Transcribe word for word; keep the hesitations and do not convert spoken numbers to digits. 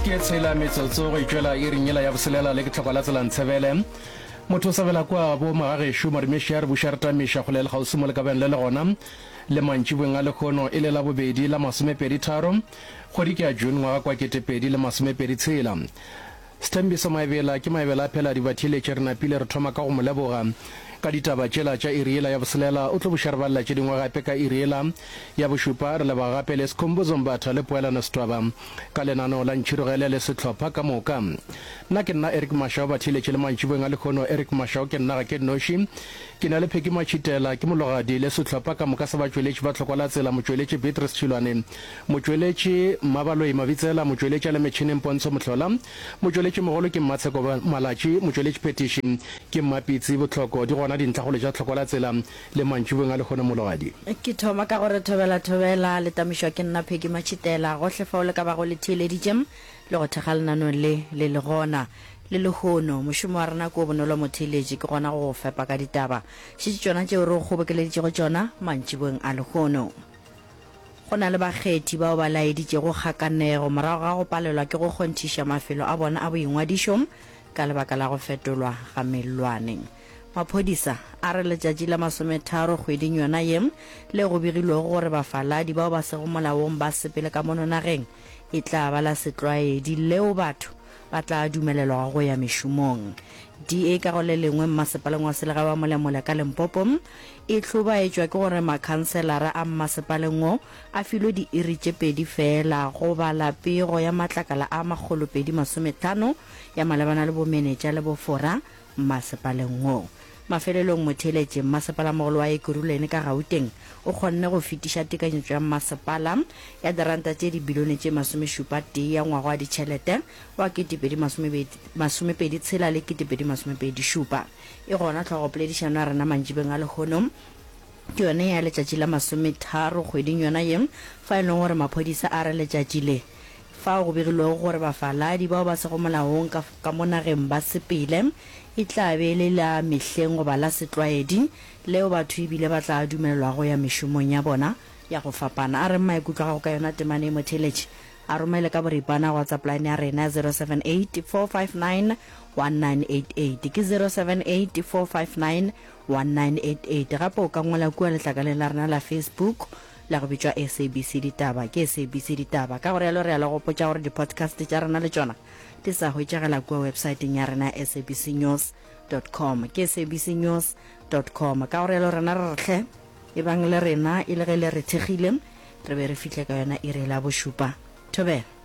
Ke tshela metsotso go itšwela iring yela ya boselela le ke tlhokwa la tsela ntshebele. Motho o sabela kwa bo magagešo madumeši a re buša re tamiša kgole le kgauswi mo le ka beng le le gona le mantšibeng a lekgono e le la bobedi la masomepedi tharo kgwedi ke ya June ngwaga kwa ketepedi le masomepedi tshela. Sthembiso Maebela ke Maebela a phela dibatheeletše re napile re thoma ka go mo leboga ka ditaba tšela tša iri yela ya boselela o tlo buša re balela tše dingwe gape ka iri yela ya bošupa re leboga gape le Skhumbuzo Mbatha le Poelano Setwaba ka lenaneo la Ntšhirogele le sehlopha ka moka. Nna ke nna Eric Mashau batheeletše le mantšiboeng a lehono Eric Mashau ke nna ga ke nnoši ke na le Pheki Matšhitela ke mologadi le sehlopha ka moka sa batšweletši ba tlhokwa la tsela motšweletši Beatrice Tšhilwane motšweletši Mmabaloi Mabitsela motšweletši a le metšhineng Pontsho Mohlola motšweletši mogolo ke Mmatsheko Malatši motšweletši phetiši ke Mmapitsi Bohloko di gona dintlhakgolo tša tlhokwa la tsela le mantšiboeng a lehono mologadi. Ke thoma ka gore thobela thobela le tamišwa ke nna Peggy Matšhitela gohle fao le ka bago le theeleditše le go thekga lenaneo le le le gona le lehono. Mošomo wa rena ke o bonolo motheeletši ke gona go go fepa ka ditaba. Šetše tšona tšeo re go kgobokeleditšego tšona mantšiboeng a lehono. Go na le bakgethi bao ba laeditšego kgakanego morago ga go palelwa ke go kgonthiša mafelo a bona a boingwadišo ka lebaka la go fetolwa ga mellwane. Maphodisa a re letšatši la masometharo kgweding yona ye le go begilwego gore bafaladi bao ba sego molaong ba sepele ka mono nageng e tla ba la setlwaedi leo batho ba tla dumelelwago go ya mešomong. D A ka go le lengwe mmasepaleng wa selegae wa Molemole ka Limpopo e hlobaetšwa ke gore makhanselara a mmasepaleng wo a filwe diiri tše pedi feela go bala pego ya matlakala a makgolopedi masometlhano ya malebana le bomenetša le bofora mmasepaleng wo. Mafelelong motheeletši mmasepalamogolo wa Ekurhuleni ka Gauteng o kgonne go fetiša tekanyetšo ya mmasepala ya diranta tše dibilione tše masomešupa tee ya ngwaga wa ditšhelete wa ketepedi masomepedi tshela le ketepedi masomepedi šupa. E gona tlhogopoledišano ya rena mantšibeng a lehono ke yone ya letšatši la masometharo kgweding yona ye fa e leng gore maphodisa a re letšatši le fao go begilwego gore bafaladi bao ba sego molaong ka, ka mo nageng ba sepele e tla be e le la mehleng goba la setlwaedi leo batho ebile ba tla dumelelwa go ya mešomong ya bona ya go fapana. A reng maikutlo a gago ka yona temane e motheeletši a romele ka boripana WhatsApp line ya rena zero seven eight four five nine one nine eight eight ke zero seven eight four five nine one nine eight eight. Gape o ka ngwala kua letlakaleng la rena la Facebook la go bitšwa S A B C Ditaba ke S A B C Ditaba. Ka gore yalo re ya le gopotša gore di-podcast tša rena le tšona di sa hwetšagela kua websaeteng ya rena S A B C news dot com ke S A B C news dot com. Ka gore yalo rena re re hle e bang le rena e le ge le re thekgile re be re fihle ka yona iri la bošupa. Thobela.